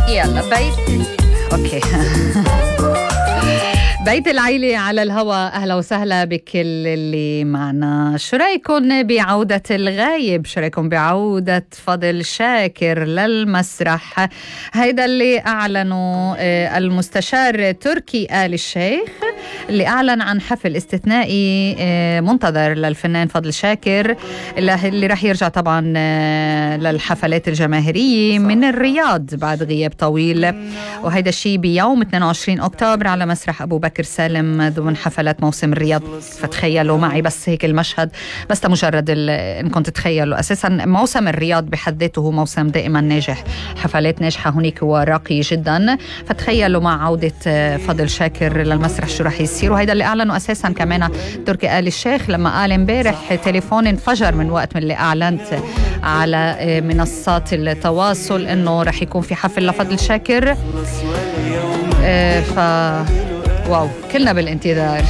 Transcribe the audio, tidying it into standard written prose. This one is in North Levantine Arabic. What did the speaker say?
يلا اوكي. بيت العيلة على الهواء. أهلا وسهلا بكل اللي معنا. شو رأيكم بعودة الغايب؟ شو رأيكم بعودة فضل شاكر للمسرح؟ هيدا اللي أعلنوا المستشار تركي آل الشيخ، اللي أعلن عن حفل استثنائي منتظر للفنان فضل شاكر، اللي رح يرجع طبعا للحفلات الجماهيرية من الرياض بعد غياب طويل، وهيدا الشيء بيوم 22 أكتوبر على مسرح أبو بكر سالم ضمن حفلات موسم الرياض. فتخيلوا معي بس هيك المشهد، بس مجرد انكم تتخيلوا. أساسا موسم الرياض بحد ذاته هو موسم دائما ناجح، حفلات ناجحة هناك وراقي جدا. فتخيلوا مع عودة فضل شاكر للمسرح شو رح يصير. وهيدا اللي أعلنوا أساسا كمان تركي آل الشيخ، لما قال امبارح تليفون انفجر من وقت من اللي أعلنت على منصات التواصل إنه رح يكون في حفل لفضل شاكر. واو، كلنا بالانتظار.